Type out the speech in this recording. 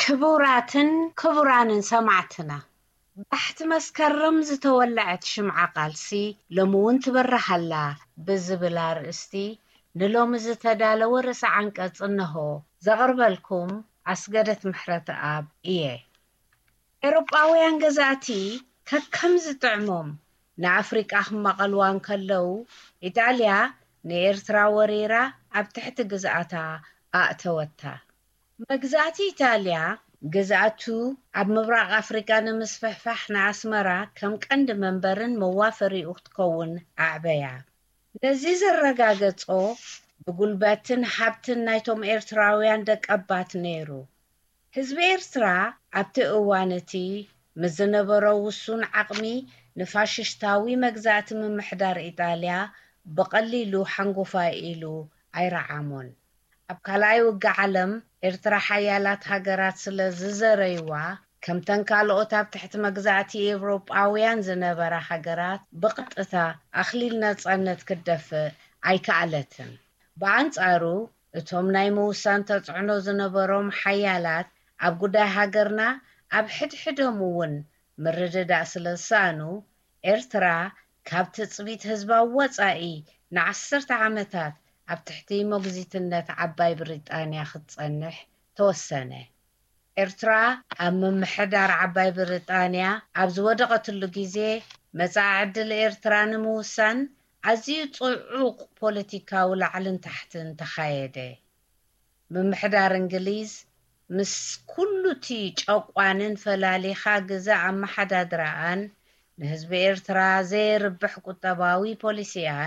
ክቡራትን ክቡራንን ሰማዕትና፣ ባሕቲ መስከረም ዝተወለዐት ሽምዓ ቃልሲ ሎሚ እውን ትበርህ ኣላ ብዝብል ኣርእስቲ ንሎሚ ዝተዳለወ ርእሰ ዓንቀጽ እነሆ። ዘቕርበልኩም ኣስገደት ምሕረተኣብ እየ። ኤውሮጳውያን ገዛእቲ ከከም ዝጥዕሞም ንኣፍሪቃ ክመቐልዋ እንከለዉ፣ ኢጣልያ ንኤርትራ ወሪራ ኣብ ትሕቲ ግዝኣታ ኣእተወታ። መግዛእቲ ኢጣልያ ግዝኣቱ ኣብ ምብራቕ ኣፍሪቃ ንምስፍሕፋሕ ንኣስመራ ከም ቀንዲ መንበርን መዋፈሪኡ ክትከውን ኣዕበያ። ነዚ ዘረጋገጾ ብጉልበትን ሃብትን ናይቶም ኤርትራውያን ደቀባት ነይሩ። ህዝቢ ኤርትራ ኣብቲ እዋን እቲ ምስ ዝነበሮ ውሱን ዓቕሚ ንፋሽስታዊ መግዛእቲ ምምሕዳር ኢጣልያ ብቐሊሉ ሓንጎፋይ ኢሉ ኣይረዓሞን። ኣብ ካልኣይ ውግእ ዓለም ኤርትራ ሓያላት ሃገራት ስለ ዝዘረይዋ፣ ከምተን ካልኦት ኣብ ትሕቲ መግዛእቲ ኤውሮጳውያን ዝነበራ ሃገራት ብቐጥታ ኣኽሊል ነጻነት ክትደፍእ ኣይከኣለትን። ብኣንጻሩ፣ እቶም ናይ ምውሳን ተጽዕኖ ዝነበሮም ሓያላት ኣብ ጉዳይ ሃገርና ኣብ ሕድሕዶም እውን ምርድዳእ ስለ ዝሰኣኑ፣ ኤርትራ ካብ ትጽቢት ህዝባዊ ወጻኢ ንዓሰርተ ዓመታት ኣብ ትሕቲ ሞግዚትነት ዓባይ ብሪጣንያ ክትጸንሕ ተወሰነ። ኤርትራ ኣብ ምምሕዳር ዓባይ ብሪጣንያ ኣብ ዝወደቐትሉ ግዜ፣ መጻኢ ዕድል ኤርትራ ንምውሳን ኣዝዩ ጽዑቕ ፖለቲካዊ ላዕልን ታሕትን ተኻየደ። ምምሕዳር እንግሊዝ ምስ ኩሉ እቲ ጨቋንን ፈላሊኻ ግዛእ ኣመሓዳድራኣን ንህዝቢ ኤርትራ ዘየርብሕ ቁጠባዊ ፖሊሲኣን